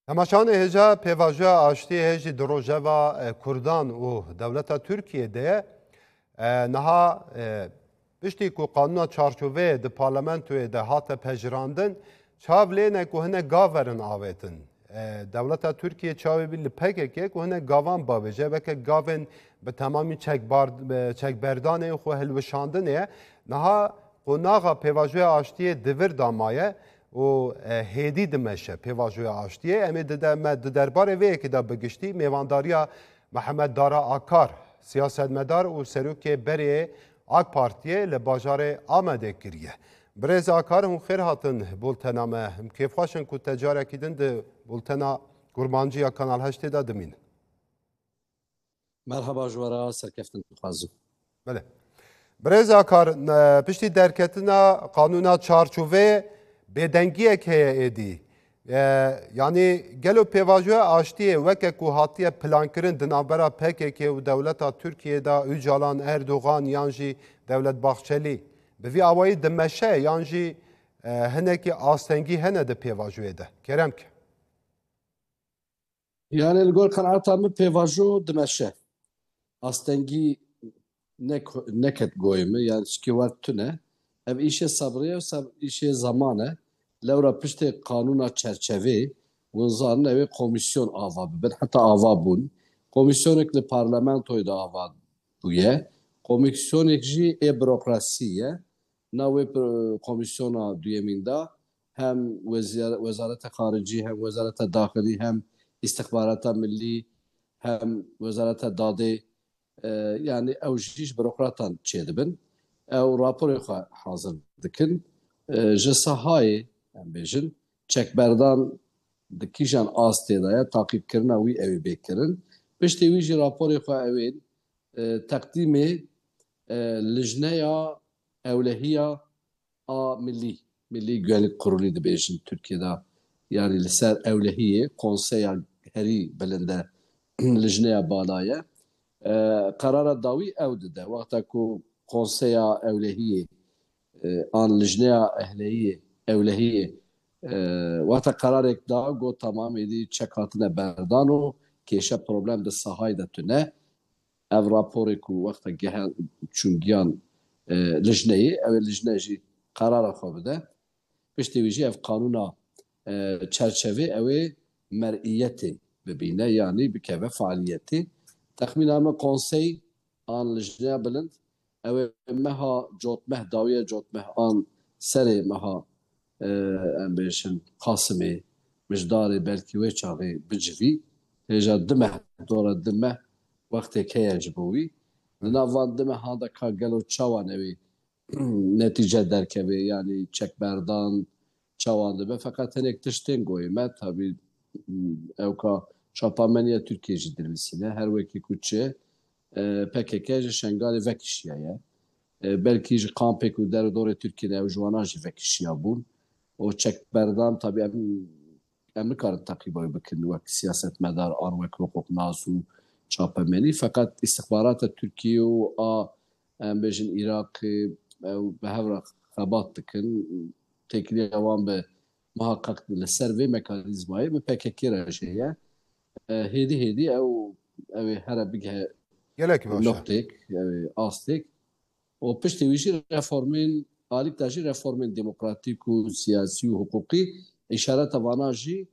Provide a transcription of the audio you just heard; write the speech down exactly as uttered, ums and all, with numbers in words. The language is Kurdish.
Temaşanê hêja pêvajoya aştiyê hêjî di rojeva e, Kurdan û dewleta Tirkiyê de ye. E, niha e, piştî ku qanûna çarçoveyê di parlamentoyê de hate pejirandin, çav lê ne ku hinek gav verin avêtin. E, dewleta Tirkiyê çavê bî li P K K ku hinek gavan bavêje, weke gavên bi temamî çekbar, e, çekberdanê û xwe hilweşandinê ye. Niha qonaxa pêvajoya aştiyê di vir de maye û e, hêdî dimeşe pêvajoya aştiyê. Em ê di de, me di derbarê vê yekê de bi giştî mêvandariya Mihemed Dara Akar, siyasetmedar û serokê berê AK Partiyê li bajarê Amedê kiriye. Birêz Akar, hûn xêr hatin bultena me. Em kêfxweş in ku te carekî din di bultena Kurmancî ya Kanal heştê de dimînin. Merhaba ji we re, serkeftin dixwazim. Belê. Birêz Akar, e, piştî derketina qanûna çarçoveyê bêdengiyek heye êdî. E, yanî gelo pêvajoya aştiyê weke ku hatiye plankirin di navbera P K K û dewleta Tirkiyê de Ocalan, Erdogan yan jî Devlet Bahçelî bi vî awayî dimeşe yan jî e, hinekî astengî hene di pêvajoyê de? Kerem ke. Yani li gor qenaeta min pêvajo dimeşe. Astengî nek-, neket goyê min, yani çikê wer tune. Ev îşê sebrê ye, seb-, îşê zeman e. Lewra piştê qanûna çerçevê, hûn zanin ew ê komîsyon ava bibin, heta ava bûn. Komîsyonek li parlamentoyê de ava bûye. Komîsyonek jî ê burokrasî ye. Nav wê pro-, komîsyona duyemîn de hem wezî-, Wezareta Xaricî, hem Wezareta Daxilî, hem Îstixbarata Millî, hem Wezareta Dadê, e, yani ew jî ji burokratan çêdibin. Ew raporê xwe hazir dikin. E, ji sahayê, em bêjin, çekberdan di kîjan astê de ye, taqîbkirina wî ew ê bê kirin. Piştî wî jî raporê xwe ew ên, e, teqdîmê, e, Lijneya Ewlehiya a Millî, Millî Güvenlik Kurulu dibêjin Tirkiyê de, yani li ser ewlehiyê, konseya herî bilind e, lijneya bala ye. E, qerara dawî ew dide. Wexta ku konseya ewlehiyê, e, an lijneya ehleyiyê, ewlehiyê, e, wexta qerarek da, got, tamam, êdî çek hatine berdan û kêşe, problem di sahayê de tune. Ev raporê ku wexta gehe çûn giyan, e, lijneyê, ew ê lijne jî qerara xwe bide. Piştî wî jî ev qanûna, e, çerçevê ew ê mer'iyetê bibîne, yanî bikeve faaliyetê. Texmîna me konsey an lijneya bilind, ew ê meha cotmeh dawiye, cotmeh an serê meha, e, em bêjin Qasimê, mijdarê belkî wê çaxê bicivî. Hêja du meh, dora du meh wextê heye ji bo wî. Li nav van du mehan de ka gelo çawan ew ê netîce derkeve, yanî çekberdan çawan dibe. Feqet hinek tiştên goyê me, tabî, ew ka çapameniya Tirkiyê jî dinivîsîne. Her wekî ku çi, e, P K K ji Şengalê vekişiyaye. E, belkî ji kampê ku der û dorê Tirkiyê de ew ji wana jî vekişiya bûn. Û çekberdan, tabî em, em nikarin teqîba wî bikin wek siyasetmedar an wek hiqûqnas û çapemenî. Feqet îstixbarata Tirkiyê û a, em bêjin, Iraqê, ew bi hev re xebat dikin. Têkiliya wan bi muhaqqeq li ser vê mekanîzmayê bi P K K re jî heye. E, hêdî hêdî ew, ew ê here bigihe Gelek baş e. Noqtêk, ew ê astêk. Û piştî wî jî reformên, alîk de jî reformên demokratîk û siyasî û hiqûqî, îşareta vana jî